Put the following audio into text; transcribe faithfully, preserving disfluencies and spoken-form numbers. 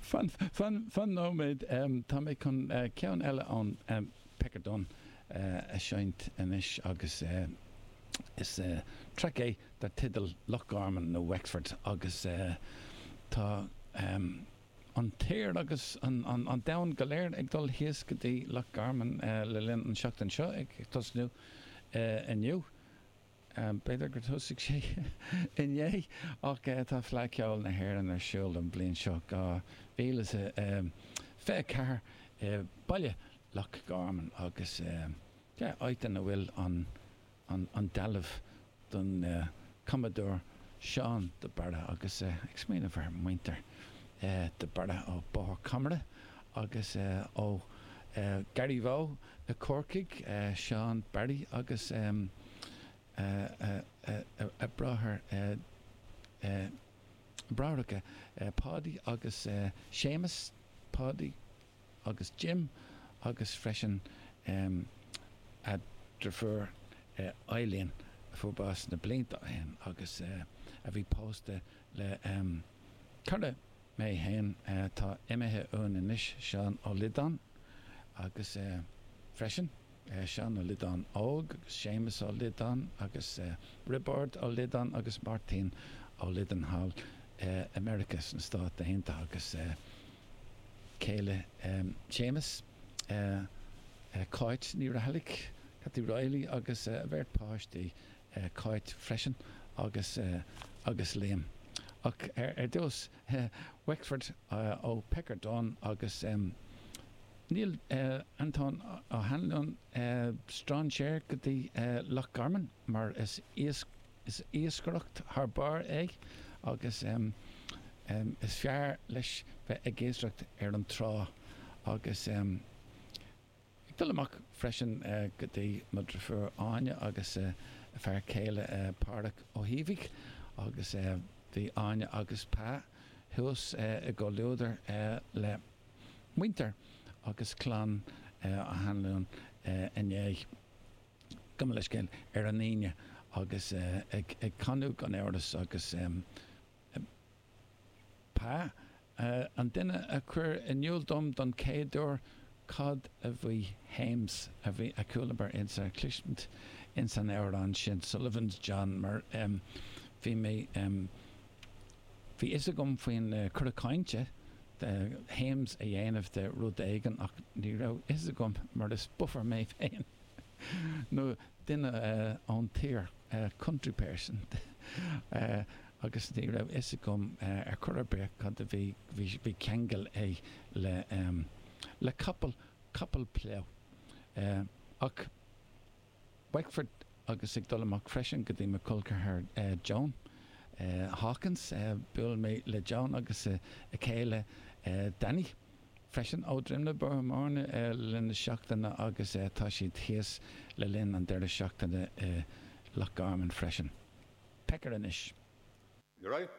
Fan fan fan nóiméad tá mé chun ceann eile ón Pecker Dunne a sheinnt anois agus is traic é dar teideal Loch Garman nó Wexford agus tá an tír agus an domhan go léir ag dul thíos go dtí Loch Garman le linn an seachtain seo ag tosnú inniu. B'fhéidir gur thosaigh sé inné ach tá Fleadh Cheoil na hÉireann ar siúl an bhliain seo dhá mhíle is fiche a ceathair i baile Loch Garman agus áit ina bhfuil an an dealbh don cumadóir Seán de Barra agus ag smaoineamh ar muintir de Barra ó Bóthar Comaire agus ó Garryvoe i Corcaigh, Seán Barry agus a bráthair bráithreacha Páidí agus Séamus, Páidí agus Jim agus freisin a deirfiúr Eileen a fuair bás na blianta ó shin agus a bhí pósta le cara mé féin atá imithe uainn anois, Seán Ó Loideáin agus freisin. Seán Ó Loideáin óg agus Séamus Ó Loideáin agus Roibeárd Ó Loideáin agus Máirtín Ó Loideáin thall i Meiriceá sna Stáit Aontaithe agus céile Séamus, Cáit Ní Raghallaigh, Cathy Reilly agus a bheirt páistí, Cáit freisin agus agus Liam. Ach ar dtús, Wexford ó Pecker Dunne agus. Níl Antóin Ó hAnluain strainséir go dtí Loch Garman mar is iascaireacht thar barr é agus is fearr leis bheith ag iascaireacht ar an trá agus ag dul amach freisin go dtí mo dhrifiúr Áine agus a fear céile Páraic Ó hÍomhaigh agus bhí Áine agus Pa thuas i gcomhluadar le muintir agus clann Ó hAnluain inné, gabh mo leithscéal, ar an Aoine agus ag canadh gan amhras agus Pa, an duine a chuir in iúl dom don chéad uair cad a bhí Hames, a bhí a chualamar insa chloisint ins an amhrán sin, Sullivan's John, mar bhí mé, bhí fhios agam faoin cur cainte Hames a dhéanamh de rud éigin ach ní raibh fhios agam mar is buffer mé féin nó duine ón tír, country person, agus ní raibh fhios agam ar chor ar bith cad a bhí, bhí ceangal é le le capall, capall plough. Ach Wexford agus ag dul amach freisin go dtí mo chol ceathar Joan Hawkins. Bhuail mé le Joan agus a céile Danny freisin ó Droim na Bóthar Mór le linn na seachtaine agus tá siad thíos le linn an deireadh seachtaine i Loch Garman freisin. Pecker anois. You right?